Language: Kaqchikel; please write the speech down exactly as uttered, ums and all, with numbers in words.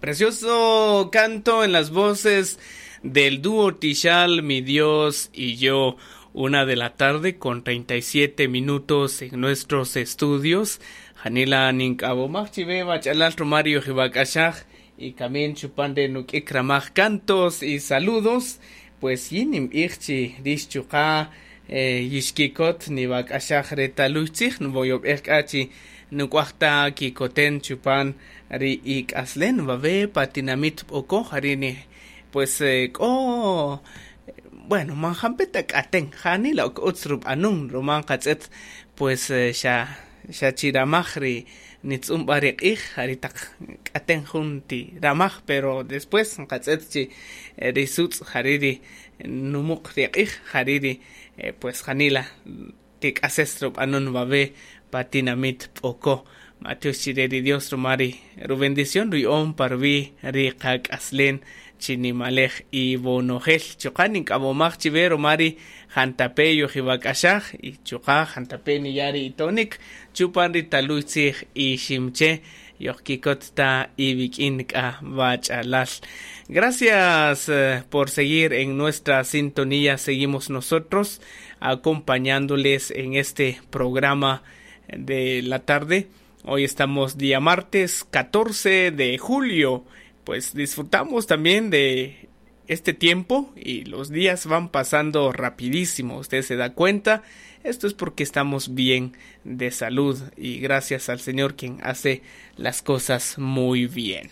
Precioso canto en las voces del dúo Tixal, mi Dios y yo. Una de la tarde con treinta y siete minutos en nuestros estudios. Janila nink'awomaj chiwe bach'alal Romario Jibak'axaj y kamin chupan de nuk'ik ramaj cantos y saludos. Pues yin nim'ij chi rix chuqa' eh, yixkikot nibak'axaj retaluy tzij nvoyob'ej k'a chi nuk'waj ta kikoten chupan ri ik'aslen wawe pa tinamit B'oko' jari' pues eh, k'o bueno man jampeta k'aten janila ok utz rub'anun ruma qatz'et pues eh, xa xa chiramaj ri nitz'un b'a ri q'ij jari' taq k'aten jun ti ramaj pero después qatz'et chi ri sutz' jari' ri numuq ri q'ij jari' ri eh, pues janila tik'ases rub'anun wawe pa tinamit B'oko'. Matiox chire ri Dios ruma ri rubendición ruya'on pa ruwi' ri qak'aslen chinimalej ibonojel chuqa' nink'amomaj chiwe ruma ri jantape yojibak'axaj y chuqa' jantape niyari itonik chupan ri taluy tzij iximche yojkikot ta iwik'in k'a bach'alal. Gracias eh, por seguir en nuestra sintonía. Seguimos nosotros acompañándoles en este programa de la tarde. Hoy estamos día martes catorce de julio. Pues disfrutamos también de este tiempo y los días van pasando rapidísimo. Usted se da cuenta. Esto es porque estamos bien de salud y gracias al Señor quien hace las cosas muy bien.